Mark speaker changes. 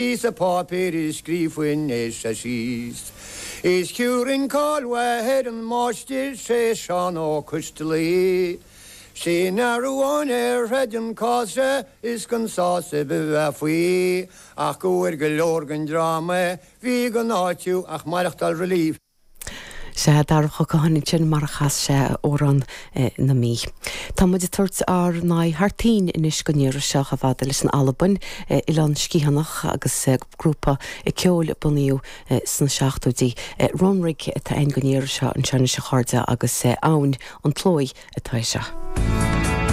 Speaker 1: Píosa páipéir a scríofainn é seo síos. Is thiúrfainn cáil mhaith ar an máistir, sé Seán Ó Coistealaí. Sin fhear amháin a throid an cás seo is gan sásamh a bheith faoi ach go bhfuair go leor den dream a bhí gan áitiú ach maireachtáil relief.
Speaker 2: Sea, Darach Ó Catháin ansin mar a chas sé Amhrán na Mí. Tá muid ag tabhairt ár n-aghaidh thar toinn anois don iarraidh seo chomh fada leis an Albain, Oileán Sgitheanach agus grúpa ceoil a bunaíodh sna seachtóidí. Runrig atá againn don iarraidh seo anseo anois a chairde agus Abhainn an tSlóigh atá é seo.